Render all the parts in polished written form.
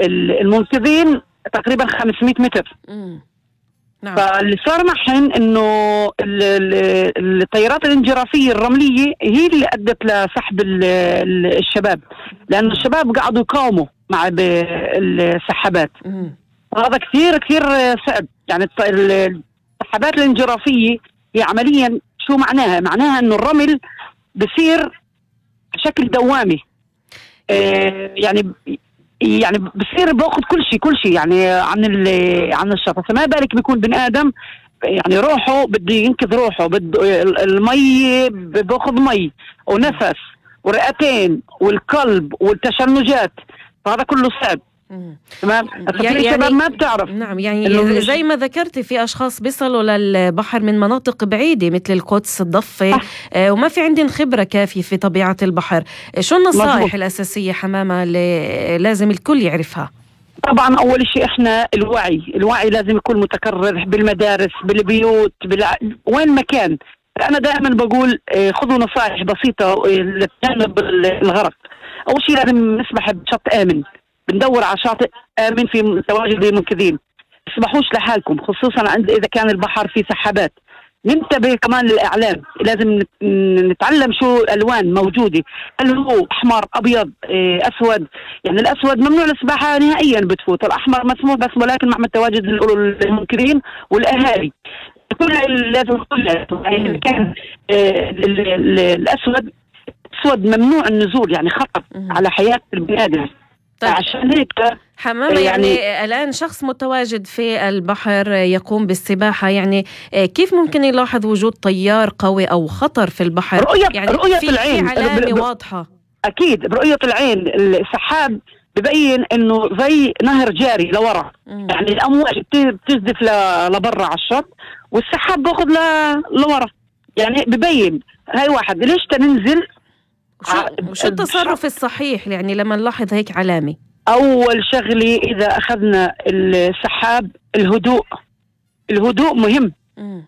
المنقذين تقريبا 500 متر. نعم. فاللي صار معهن انه الطيارات الانجرافيه الرمليه هي اللي ادت لسحب الشباب، لانه الشباب قعدوا يقاوموا مع السحابات. هذا كثير كثير صعب. يعني السحابات الانجرافيه هي عمليا شو معناها؟ معناها انه الرمل بصير بشكل دوامي. يعني بصير باخذ كل شيء يعني عن الشط. فما بالك بيكون بني ادم يعني روحه بده ينقذ روحه، بده المي باخذ مي ونفس ورئتين والقلب والتشنجات، فهذا كله صعب. تمام. يعني الشباب ما بتعرف. نعم. يعني زي ما ذكرتي في أشخاص بيصلوا للبحر من مناطق بعيدة مثل القدس، الضفة، وما في عندهم خبرة كافية في طبيعة البحر. شو النصائح الأساسية حمامة اللي لازم الكل يعرفها؟ طبعا أول شيء إحنا الوعي لازم يكون متكرر بالمدارس، بالبيوت، وين ما كان. أنا دائما بقول خذوا نصائح بسيطة لتجنب الغرق. أول شيء لازم نسبح بشط آمن، بندور على شاطئ آمن في تواجد المنقذين. تسبحوش لحالكم، خصوصا إذا كان البحر فيه سحابات. ننتبه كمان للإعلام، لازم نتعلم شو الألوان موجودة، هل هو أحمر أبيض أسود. يعني الأسود ممنوع السباحة نهائيا بتفوت، الأحمر مسموح بس ولكن مع تواجد المنقذين والأهالي. لازم يعني كان الأسود ممنوع النزول، يعني خطر على حياة البني آدم. طيب. عشان هيك حمامة يعني الآن شخص متواجد في البحر يقوم بالسباحة، يعني كيف ممكن يلاحظ وجود تيار قوي أو خطر في البحر؟ يعني رؤية العين، في علامة واضحة. أكيد برؤية العين. السحاب ببين إنه زي نهر جاري لورا. يعني الأمواج بتجدف لبرا على الشط والسحاب باخذ لورا. يعني ببين هاي واحد. ليش تننزل؟ وشو التصرف الصحيح يعني لما نلاحظ هيك علامة؟ أول شغلة إذا أخذنا السحاب الهدوء مهم.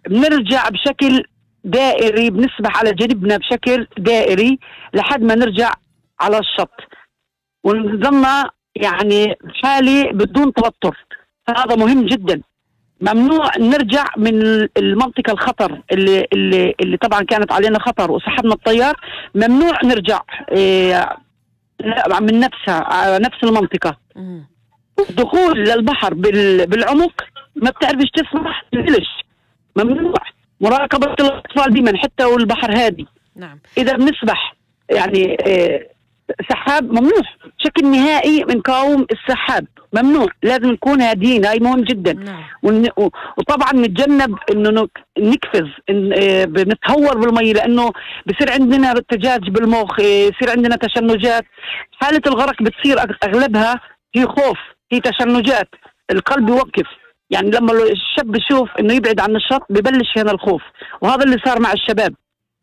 بنرجع بشكل دائري، بنسبح على جنبنا بشكل دائري لحد ما نرجع على الشط، ونظلنا يعني حالي بدون توتر. هذا مهم جدا. ممنوع نرجع من المنطقة الخطر اللي طبعا كانت علينا خطر وسحبنا الطيار. ممنوع نرجع من نفس المنطقة. الدخول للبحر بالعمق ما بتعرفش تسبح، تنزلش. ممنوع. مراقبة الأطفال دايما حتى والبحر هادي. نعم. إذا بنسبح يعني سحاب ممنوع بشكل نهائي. بنقاوم السحاب ممنوع، لازم نكون هاديين. هاي مهم جدا. نعم. وطبعا نتجنب انه نقفز، بنتهور بالمي، لانه بصير عندنا ارتجاج بالمخ، يصير عندنا تشنجات. حالة الغرق بتصير اغلبها هي خوف، هي تشنجات، القلب يوقف. يعني لما الشاب يشوف انه يبعد عن الشط ببلش هنا الخوف، وهذا اللي صار مع الشباب.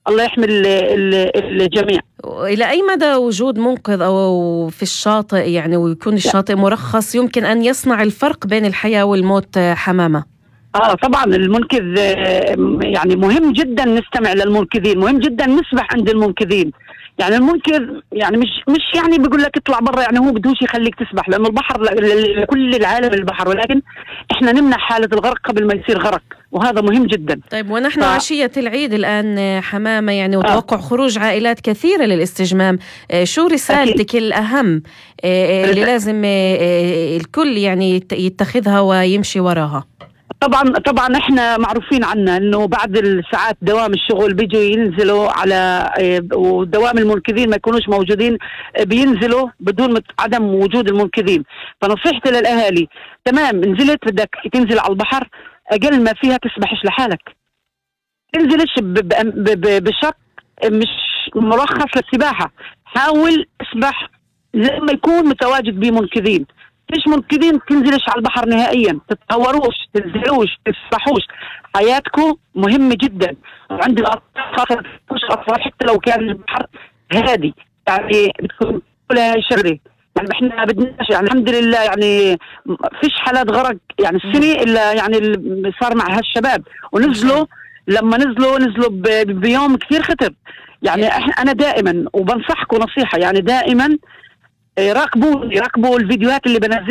الله يحمي الجميع. إلى أي مدى وجود منقذ أو في الشاطئ يعني ويكون الشاطئ مرخص يمكن أن يصنع الفرق بين الحياة والموت حمامة؟ طبعا المنقذ يعني مهم جدا نستمع للمنقذين، مهم جدا نسبح عند المنقذين. يعني المنقذ يعني مش يعني بيقول لك اطلع برا، يعني هو بدوش يخليك تسبح، لأنه البحر لكل العالم البحر، ولكن احنا نمنع حالة الغرق قبل ما يصير غرق، وهذا مهم جدا. طيب ونحن عشية العيد الآن حمامة يعني وتوقع خروج عائلات كثيرة للاستجمام، شو رسالتك الأهم اللي لازم الكل يعني يتخذها ويمشي وراها؟ طبعا احنا معروفين عنا انه بعد الساعات دوام الشغل بيجوا ينزلوا على، ودوام المنقذين ما يكونوش موجودين، بينزلوا بدون عدم وجود المنقذين. فنصيحتي للاهالي، تمام نزلت بدك تنزل على البحر، اقل ما فيها تسبحش لحالك، تنزلش بشق مش مرخص للسباحة. حاول اسبح لما يكون متواجد بمنقذين. فيش منقذين تنزلش على البحر نهائيا، تتهوروش، تنزلوش، تسبحوش. حياتكم مهمة جدا. وعند الأطفال حتى لو كان البحر هادي يعني بتكون كلها شغلة. يعني احنا بدناش يعني الحمد لله يعني فيش حالات غرق يعني السنة إلا يعني اللي صار مع هالشباب، ونزلوا لما نزلوا بيوم كثير خطر. يعني انا دائما وبنصحكم نصيحة، يعني دائما راقبوا الفيديوهات اللي بنزلها.